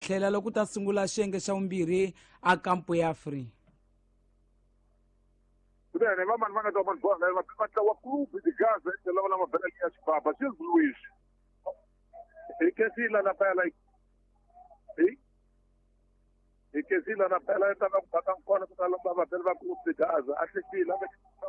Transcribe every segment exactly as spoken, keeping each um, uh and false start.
Tlhela loko ta sungula xiyenge xa vumbirhi a kampo ya free. Kunene vamani va nga ta va bola va va tlawa Clube de Gaza lava lama bela ya xibaba Gilles Luis hi kesila la pela hi hi kesila na pela ta va ku bata kona ku ta lomba va bela va Clube de Gaza a hlekile a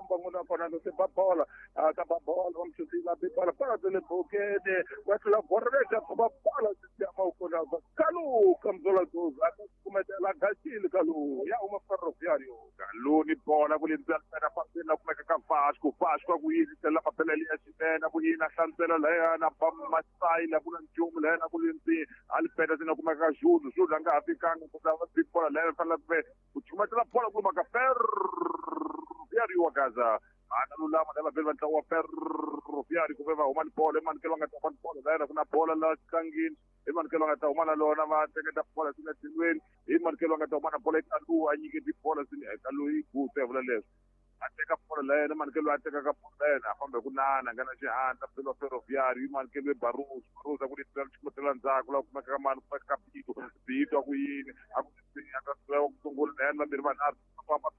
va ngona kona no se ba bola a ta ba bola va mchutila be bola para le bokene wa tla borrega ba bola ya ma kona va kalu kamzola doza a kumetela gachile kalu ya uma Ferroviário kalu ni bola ku lindzela na pasela kumeka ka Vasco Vasco ku yisela mapela ya xinene ku yina hlantsela la na ba masai la ku na nchumu la na ku lindzi alipeta sina kumeka ka Júlio Júlio anga ha fikanga ku ta va bola la fanele ku chumatela bola ku maka Ferroviário wa Gaza ana lulama lava vele va ntlawa wa Ferroviário ku ve va huma ni bola emanikelo va nga ta huma ni bola la ku na bola la tlangini emanikelo va nga ta huma na lona va teketa bola swi nga tilweni emanikelo va nga ta huma na bola eka luwa a nyiketi bola swi eka loyi gutse vula leswi a teka bola la yena emanikelo a teka ka bola la yena a famba hi ku nana nga na xihatla phela Ferroviário emanikelo e Barros Barros a ku leti chumatela ndzhaku la kumeka ka mani kumeka ka Bito Bito a ku yini a ku a ka ku sungula la yena vambirhi vanharhu famba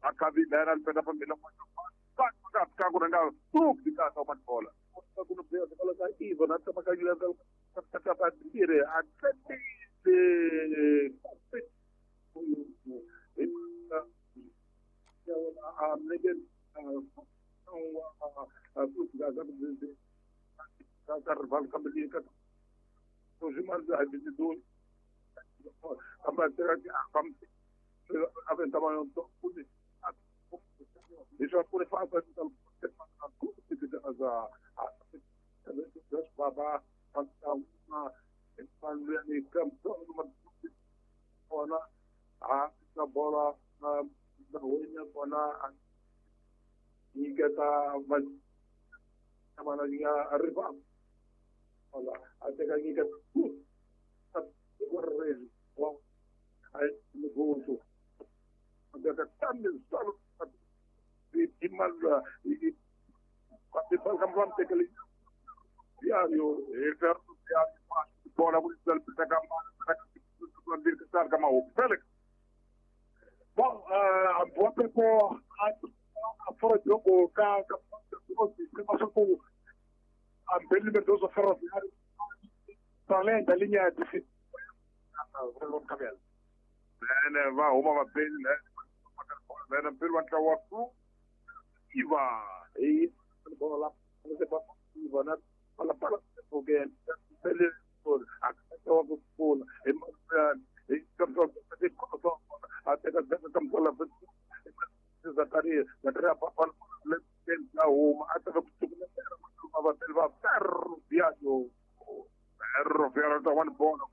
a khavi la yena alipenda pambili ka ku ranga Clube de Gaza uma bola ku no bela bola ka Ivo na tama ka yula ka ka ka dire a tsete a mlege a Clube de Gaza ka ka rival ka mlege ka to jimar da de do a bater a kam a ventava um to Isso por fazer a baba a bola da wenya kona nyiketa va mana ya arriba hola a teka nyiketa wa ai gozo da também só e mal e quando fala com o que diário e ferro bola por isso da camada da camada Félix. Bom, a boa com a fora de jogo ka ka com a bem liberdoso Ferroviário além da linha de cabelo. Né, vai uma bem, né? Né, pelo antawatu Iva. E bola você pode Iva, né? Fala para porque ele a o bola e e até que campola Zacarias, Zacarias para uma até Ferroviário Ferroviário tá one bola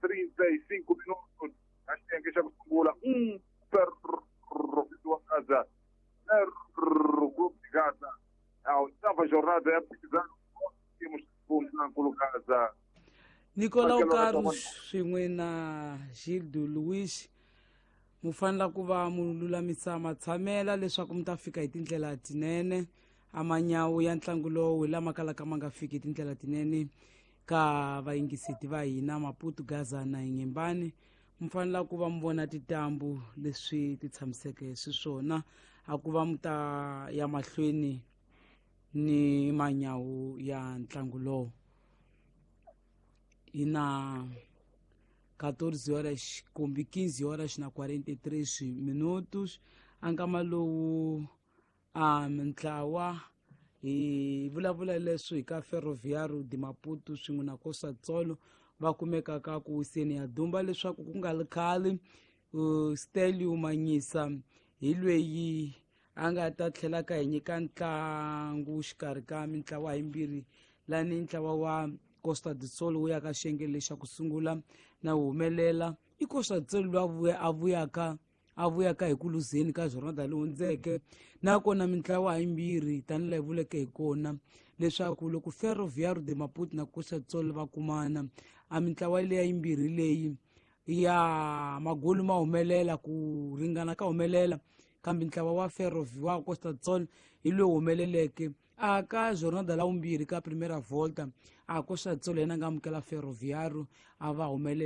trinta e cinco minutos acho que já sungula um Ferroviário Gaza Ferro Clube de Gaza a oitava jornada é precisando temos pontos Gaza. Nicolau Carlos swin'we na Gildo Luiz mu fanela ku va mu lulamisa matshamela leswaku mi ta fika hi tindlela tinene a manyawu ya ntlangu lowu hi lama kalaka ma nga fiki hi tindlela tinene ka vayingiseti va hina Maputo Gaza na Inhembane mu fanela ku va mu vona titambu leswi ti tshamiseke swiswona a ku va mu ta ya mahlweni ni manyawu ya ntlangu lowu. E na quatorze horas com quinze horas na quarenta e três minutos ankama lowu a mintlawa hi vulavula leswi hi ka Ferroviário de Maputo swin'we na Costa Tsolo va kumeka ka ku wiseni ya dumba leswaku ku nga ri khale Stelio Manyisa hi lweyi a nga ta tlhela ka hi nyika ntlangu xikarhi ka mintlawa yimbirhi lani ntlawa wa Costa do Sol wu ya ka xiyenge lexa ku sungula na wu humelela i Costa do Sol loyi a vuyaka a vuyaka hi ku luzeni ka jornada leyi hundzeke nakona mintlawa yimbirhi tanihi laha hi vuleke hi kona leswaku loko Ferroviário de Maputo na Costa do Sol va kumana a mintlawa leya yimbirhi leyi ya magolu ma humelela ku ringana ka humelela kambe ntlawa wa Ferroviário wa Costa do Sol hi lowu humeleleke a ka jornada la vumbirhi ka primeira volta a Costa do Sol yena nga amukela Ferroviário a va humelela.